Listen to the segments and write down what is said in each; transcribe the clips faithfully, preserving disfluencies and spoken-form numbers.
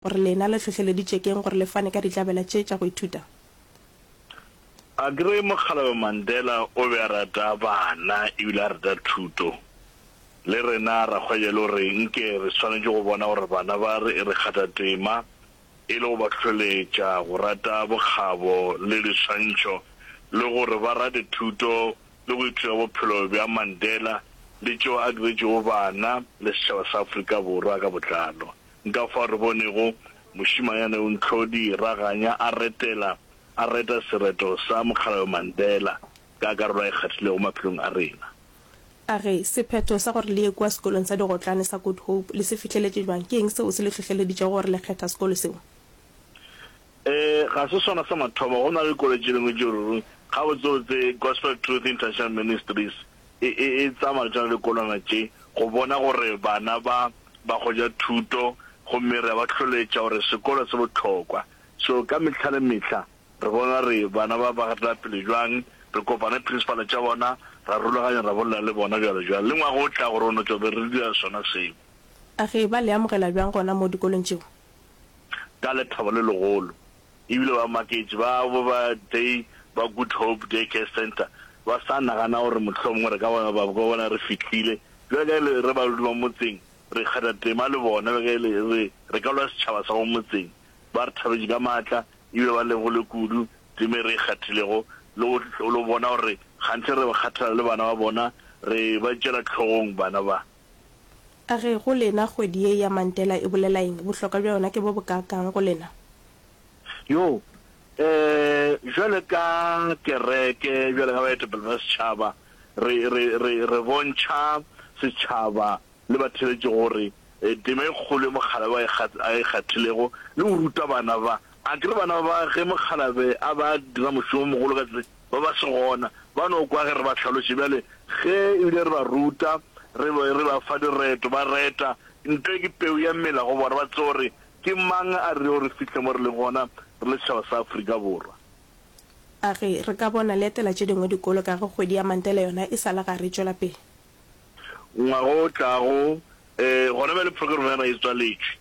Gore lena le hlohleleditše ke'ng gore le fane ka ditlabela tše tša go ithuta? A ke re Mokgalabje Mandela o be a rata bana ebile a rata thuto. Le rena ra hwetša e le gore nke re swanetše go bona gore bana ba re re kgatha tema e le go ba hlohleletša go rata bokgabo le diswantšho le gore ba rate thuto le go ithuta bophelo bja Mandela le tšeo a diretšego bana le setšhaba sa Afrika Borwa ka botlalo. Nka fao re bonego mošemanyana yo Ntlhodi Raganya a retela, a reta sereto sa Mokgalabje Mandela ka karolo a e kgathilego maphelong a rena. A re, Sephetho sa gore le ye kua sekolong sa digotlane sa Good Hope le se fihleletše bjang? Ke eng seo se le hlohleleditšego gore le kgetha sekolo seo? Ee, ga se sona sa mathomo. Go na le dikolo tše dingwe tšeo ruri gabotsebotse Gospel Truth International Ministries e, e, e tsamaya le tšona dikolwana tše go bona gore bana ba ba hwetša thuto gomme re a ba hloletša gore sekolo se bohlokwa. So ka mehla le mehla re bona re bana ba ba gatela pele bjang, re kopana le principal tša bona, ra rulaganya ra bolela le bona bjalo bjalo. Le ngwaga o tlago re o no tšwa be re dira sona seo. A ge ba le amogela bjang gona moo dikolong tšeo? Ka lethabo le legolo. Ebile ba maketše ba bo ba day ba Good Hope Day Care Centre ba sa nagana gore mohlomongwe re ka bona ba ka bona re fihlile. Bjale ka e le re badudi ba motseng re kgatha tema le bona, bjale ka e le re re ka lwa setšhaba sa mo motseng. Ba re thabetše ka maatla ebile ba lebogile kudu tema e re e kgathilego le go le go bona gore kganthe re ba kgathala le bana ba bona, re ba tšeela hlogong bana ba. A re, Go lena kgwedi ye ya Mandela e bolela eng? Bohlokwa bja yona ke bo bokaakang go lena? Yo, eh, bjale ka kereke, bjale ka baetapele ba setšhaba, re, re, re, re bontšha setšhaba le batheeletši gore tema e kgolo ye mokgalabje a e kgat-, a e kgathilego le go ruta bana ba. A ke re bana ba, ge mokgalabje a ba dira mošomo o mogolo ka tsela, ba ba se gona, ba no kwa ge re ba hlaloše. Bjale ge ebile re ba ruta, re, re ba fa direto, ba reta, nto e ke peu ya mela go bona, ba tsebe gore Ke mang a rilego re fihle mo re leng gona re le setšhaba sa Afrika Borwa? A re, Re ka bona le etela tše dingwe dikolo ka ge kgwedi ya Mandela yona e sa le gare e tšwela pele. Ngwaga o tlago, ee, gona bjale program ya rena e tswaletšwe,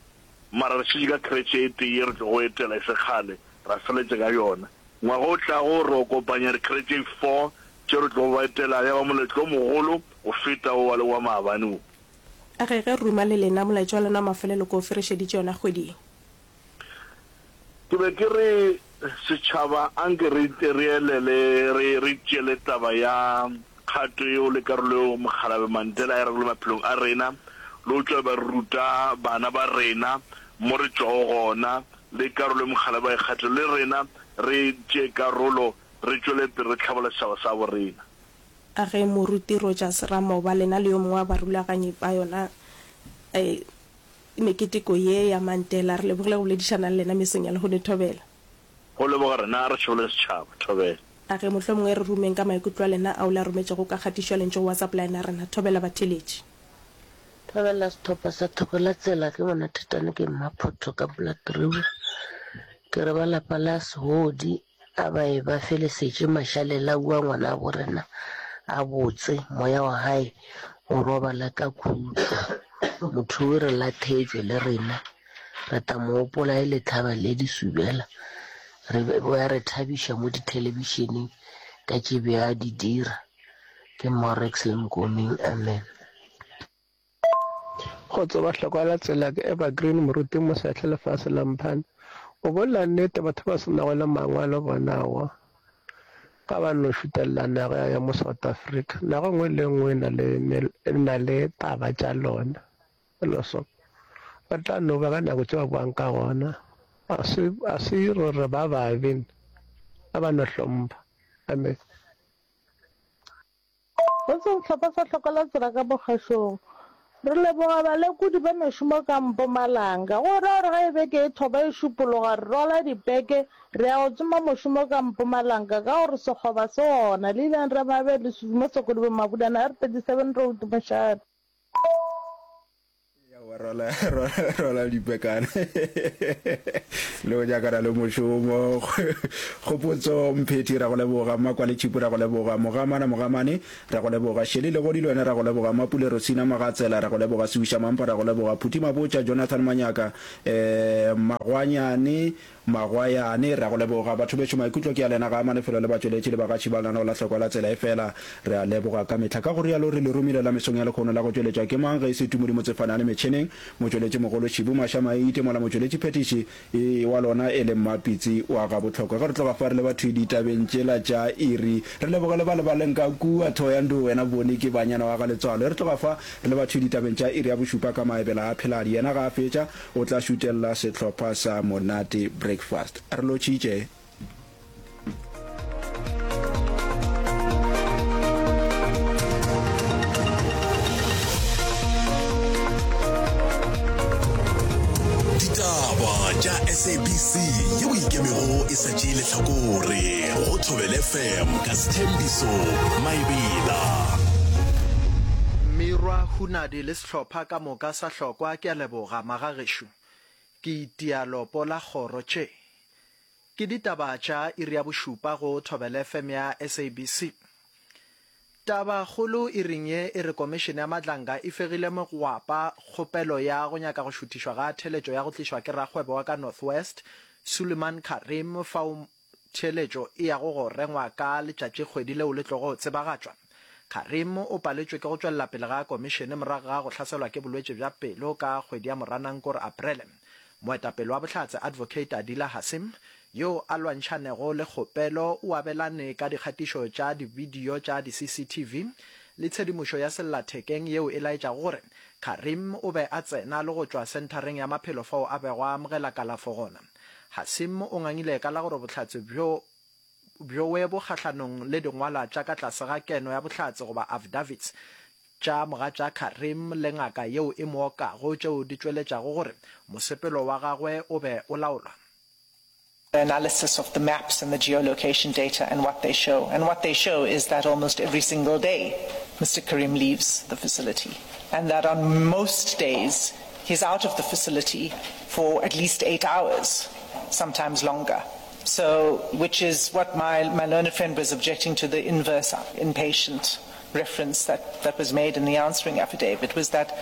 mara re šetše ka creche e tee ye re tlogo etela e se kgale, ra feleletša ka yona. Ngwaga o tlago re o kopanya di-creche tše four tše re tlogo ba etela, ya ba moletlo o mogolo go feta wo wa le wa maabane wo. A re, Ge ruma le lena, molaetša wa lena wa mafelelo ke ofe? Re šeditše yona kgwedi ye. Ke be ke re, setšhaba, anke re, re elele, re, re tšeele taba ya kgato yeo le karolo yeo Mokgalabje Mandela a e ragilego maphelong a rena, le go tšwela ba re ruta bana ba rena mo re tšwago gona, le karolo ye Mokgalabje a e kgathilego, le rena re tšee karolo, re tšwele pele re hlabolla setšhaba sa bo rena. A ge Moruti Rogers Ramoba lena le yo mongwe wa barulaganyi ba yona meketeko ye ya Mandela, re lebogile go boledišana le lena mesong ya lehono. Thobela. Go leboga rena, a re šobole setšhaba. Thobela. A ge mohlomongwe re rumeng ka maikutlo a lena ao le a rometšego ka kgatišo ya lentšu go WhatsApp line ya rena. Thobela batheeletši. Thobela sehlopha sa Thoko la Tsela ke bona Thetane ke Mmaphotho ka Black River. Ke re ba lapa la Sehodi A ba e ba felesetše mašalela ua ngwanabo rena a botse, moya wa hae o robala ka khutšo. Motho o re lathetšwe le rena, re ta mo gopola e le tlhaba le disubela. Re be ba re thabiša mo dithelebišeneng ka tše be a di dira. Ke Morex le Nkomeng. Amen. Go tseba hlokwa la tsela ke Evergreen Moruti Mosehle lefase la Mphane. O bolela nnete batho ba se nago le mangwalo bona aowa ga ba no šutelela naga ya mo South Africa. Naga nngwe le nngwe e na le e na le taba tša lona. Felo so ba tla no ba ka nako tše ba boang ka gona. A se a se gore ba babe a ba no hlompha. Amen. Go sehlopha sa Hloko la Tsela ka Mokgašong. Re leboga balekodi ba mešomo ka Mpumalanga. Go ra gore ge beke e thoba e šupologa re rwala dipeke re ya go tsoma mošomo ka Mpumalanga ka gore sekgoba se gona. Leilane Ramabe, Leswiswi mo Sokodibeng Mabulana, R thirty seven Road, Mošate. Ya Wa rwala rwala dipekana le go nyakana le mošomo. Kgopotso Mphethi ra go leboga, Mmakwale Tšhipu ra go leboga, Mogamana Mogamane ra go leboga, Shelley Legodi le wena ra go leboga, Mapule Rosina Magatsela ra go leboga, Sewiša Mampa ra go leboga, Phuthi Mabotja, Jonathan Manyaka, eh Magwanyane Magwayane, re a go leboga. Batho bešo, maikutlo ke a lena, ga a amane felo le batšweletši le bagatši ba lenaneo la Hlokwa la Tsela, efela re a leboga ka mehla. Ka go rialo re le romile la mesong ya lehono la go tšweletšwa ke mang ge e se Tumodi Motsefane a le metšheneng, motšweletši mogolo Šibu Maša Maite, mola motšweletši phethiši e wa lona e le Mmapitsi wa Gabohlokwa. Ge re tloga fa re leba thwi ditabeng tšela tša iri, re leboge le ba le ba leng ka kua Thohoyandou, wena Boni ke banyana wa ga Letswalo. Ge re tloga fa re leba thwi ditabeng tša iri ya bošupa ka maebela a Pheladi, yena ga a fetša o tla šutella sehlopha sa Monate Breakfast. Re lotšhitše. Ditaba tša S A B C yeo e ikemego e sa tšee lehlakore go Thobela F M ka Sthembiso Maebela. Mirwa Hunadi le sehlopha ka moka sa Hlokwa ke a leboga magagešo. Ke itia lopo la kgoro tše. Ke ditaba tša iri ya bošupa go Thobela F M ya S A B C. Taba kgolo iring ye e re Komišene ya Madlanga e fegile mogwapa kgopelo ya go nyaka go šuthišwa ga theletšo ya go tlišwa ke rakgwebo wa ka North West, Suleiman Karim fao Theeletšo e yago go rengwa ka letšatšikgwedi leo le tlogo tsebagatšwa. Karim o paletšwe ke go tšwelela pele ga komišene morago ga go hlaselwa ke bolwetši bja pelo ka kgwedi ya Moranang kore Aprele. Moetapele wa bohlatse Advocate Adila Hassim, yo a lwantšhanego le kgopelo, o abelane ka dikgatišo tša dibidio tša di-C C T V le tshedimošo ya sellathekeng yeo e laetšago gore Karim o be a tsena le go tšwa senthareng ya maphelo fao a bego a amogela kalafo gona. Hasim o ngangile ka la gore bohlatse bjo bjowe bo kgahlanong le dingwalwa tša ka tlase ga keno ya bohlatse goba affidavits tša mogatša Karim le ngaka yeo e mo okago tšeo di tšweletšago gore mosepelo wa gagwe o be o laolwa. The analysis of the maps and the geolocation data and what they show. And what they show is that almost every single day Mister Karim leaves the facility, and that on most days he's out of the facility for at least eight hours, sometimes longer. So, which is what my, my learned friend was objecting to, the inverse inpatient reference that, that was made in the answering affidavit, was that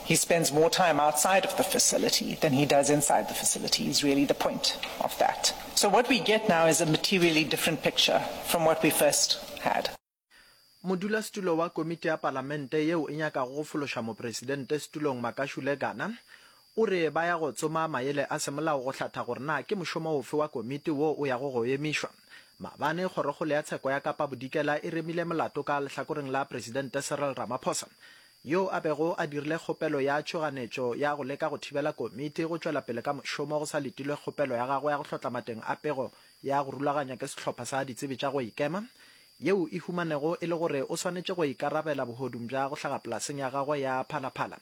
he spends more time outside of the facility than he does inside the facility, is really the point of that. So what we get now is a materially different picture from what we first had. Modulasetulo wa komiti ya palamente yeo e nyakago go fološa mopresidente setulong Makashule Gana o re ba ya go tsoma maele a semolao go hlatha gore na ke mošomo ofe wa komiti wo o yago go emišwa. Maabane Kgorokgolo ya Tsheko ya Kapa Bodikela e remile molato ka lehlakoreng la Presidente Cyril Ramaphosa yo a bego a dirile kgopelo ya tšhoganetšo ya go leka go thibela komiti go tšwela pele ka mošomo go sa letilwe kgopelo ya gagwe ya go hlotla mateng a pego ya go rulaganywa ke sehlopha sa ditsebi tša go ikema yeo e humanego e le gore o swanetše go ikarabela bohodung bja go hlaga polaseng ya gagwe ya Phalaphala.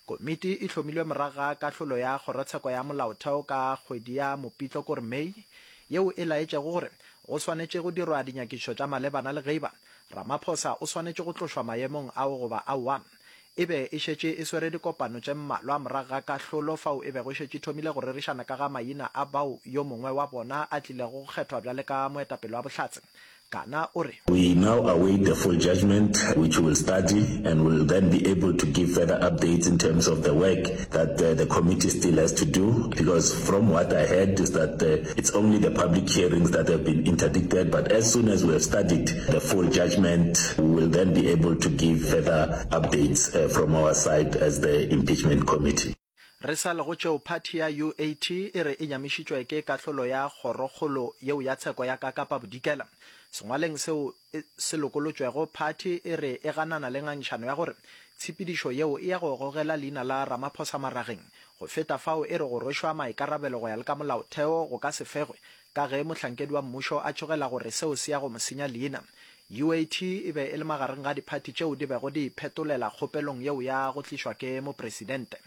Komiti e hlomilwe morago ga kahlolo ya Kgorotsheko ya Molaotheo ka kgwedi ya Mopitlo kore May yeo e laetšego gore go swanetše go dirwa dinyakišišo tša malebana le geiba Ramaphosa o swanetše go tlošwa maemong ao goba aowa. E be e šetše e swere dikopano tše mmalwa morago ga kahlolo fao e bego e šetše e thomile go rerišana ka ga maina a bao yo mongwe wa bona a tlilego go kgethwa bjale ka moetapele wa Bohlatse. Kana o re. We now await the full judgment, which we will study and will then be able to give further updates in terms of the work that the committee still has to do, because from what I heard is that it's only the public hearings that have been interdicted, but as soon as we have studied the full judgment, we will then be able to give further updates from our side as the impeachment committee. Re sa le go tšeo, phathi ya U A T e re e nyamišitšwe ke kahlolo ya Kgorokgolo yeo ya Tsheko ya ka Kapa Bodikela. Sengwaleng seo se lokolotšwego, phathi e re e ganana le ngangišano ya gore tshepedišo yeo e ya go gogela leina la Ramaphosa marageng. Go feta fao e re go rwešwa maikarabelo go ya le ka molaotheo go ka se fegwe ka ge mohlankedi wa mmušo a tšhogela gore seo se ya go mo senya leina. U A T e be e le magareng ga diphathi tšeo di bego di iphetolela kgopelong yeo ya go tlišwa ke mopresidente.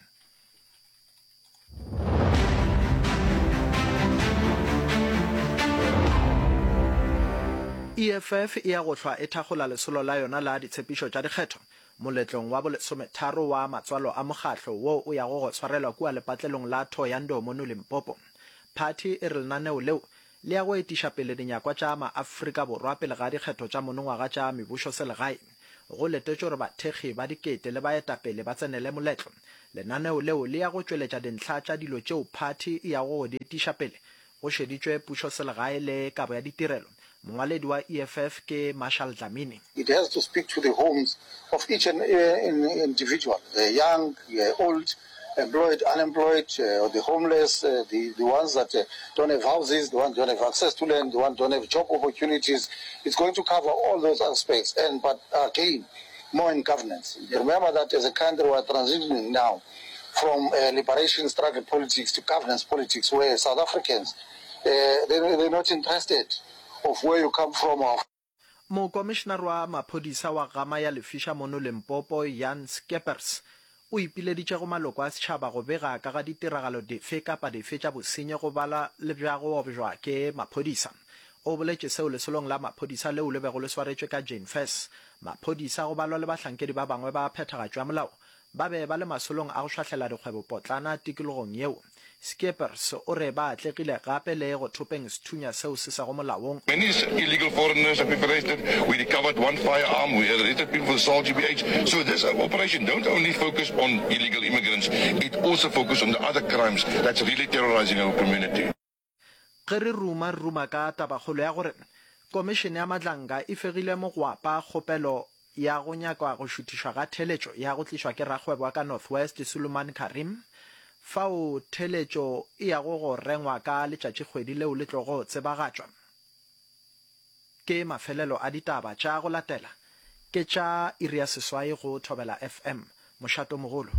E F F e ya go hlwa e thakgola lesolo la yona la ditshepišo tša dikgetho. Moletlong wa bolesometharo wa matswalo a mokgatlo wo o yago go swarelwa kua lepatlelong la Thohoyandou mono Limpopo. Phathi e re lenaneo leo le ya go etiša pele dinyakwa tša maAfrika Borwa pele ga dikgetho tša monongwaga tša mebušoselegae. Go letetšwe gore bathekgi ba dikete le baetapele ba tsenele moletlo. Lenaneo leo le ya go tšweletša dintlha tša dilo tšeo phathi e yago go di etiša pele go šeditšwe pušoselegae le kabo ya ditirelo. Mongwaledi wa E F F ke Marshall Dlamini. It has to speak to the homes of each and individual, the young, the old, employed, unemployed, the homeless, the, the ones that don't have houses, the ones don't have access to land, the ones don't have job opportunities. It's going to cover all those aspects, and but again, more in governance. Remember that as a country we are transitioning now from uh, liberation struggle politics to governance politics, where South Africans, uh, they, they're not interested of where you come from or Mokomišenare wa maphodisa wa Gama ya Lefiša mono Limpopo, Jan Scheepers, o ipileditše go maloko a setšhaba go bega ka ga ditiragalo dife kapa dife tša bosenyi go bala le bja go objwa ke maphodisa. O boletše seo lesolong la maphodisa leo le bego le swaretšwe ka Jane Furse. Maphodisa go balwa le bahlankedi ba bangwe ba phethagatšo ya molao ba be ba le masolong a go šwahlela dikgwebopotlana tikologong yeo. Scheepers o re ba atlegile gape le go thopeng sethunya seo se sego molaong. Many illegal foreigners have been arrested, we recovered one firearm, we arrested people for assault G B H. So this operation don't only focus on illegal immigrants, it also focus on the other crimes that's really terrorizing our community. Ge re ruma, re ruma ka tabakgolo ya gore Komišene ya Madlanga e fegile mogwapa kgopelo ya go nyaka go šuthišwa ga theeletšo ya go tlišwa ke rakgwebo wa ka North West Suleiman Karim, fao theeletšo e yago go rengwa ka letšatšikgwedi leo le tlogo tsebagatšwa. Ke mafelelo a ditaba tša go latela ke tša iri ya seswai go Thobela F M, mošatomogolo.